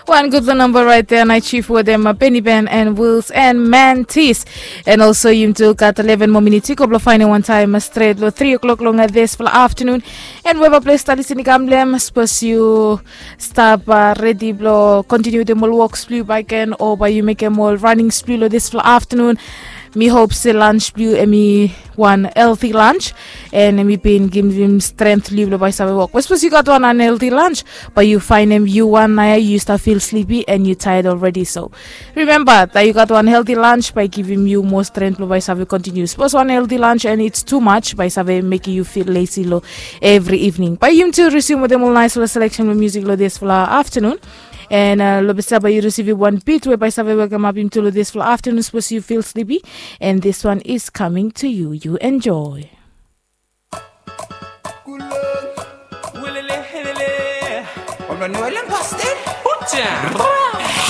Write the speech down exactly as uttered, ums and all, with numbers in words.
Wan gutpela namba rait ya, nait shif wetem Benny Ben and Wills and Mantis. And also yum tu gat eleven moa minit i go blong fainem wan taim stret long three o'clock long dispela afternoon. And weva ples talis i kam blem, sapos yu stap redi blong kontiniu wetem ol woks blong yu baken o bai yu mekem ol running blong yu long dispela afternoon, mi hop se lunch blong yu em i wan healthy lunch, and em i bin givim strength long yu blong bai save wok. But sapos yu gat wan unhealthy lunch, bai yu fainem yu wan nau ya yu stap feel sleepy and yu tired already. So remember that yu gat wan healthy lunch bai givim yu moa strength blong bai save continue. Sapos wan healthy lunch and it's too much, bai save mekim yu feel lazy long every evening. Bai yum tu resume wetem ol nice selection blong music long dispela afternoon. And uh, lo bisa bai yu risivim wan beat we bai save welcome up yum tu lo dispela afternoon, suppose you feel sleepy. And this one is coming to you. You enjoy.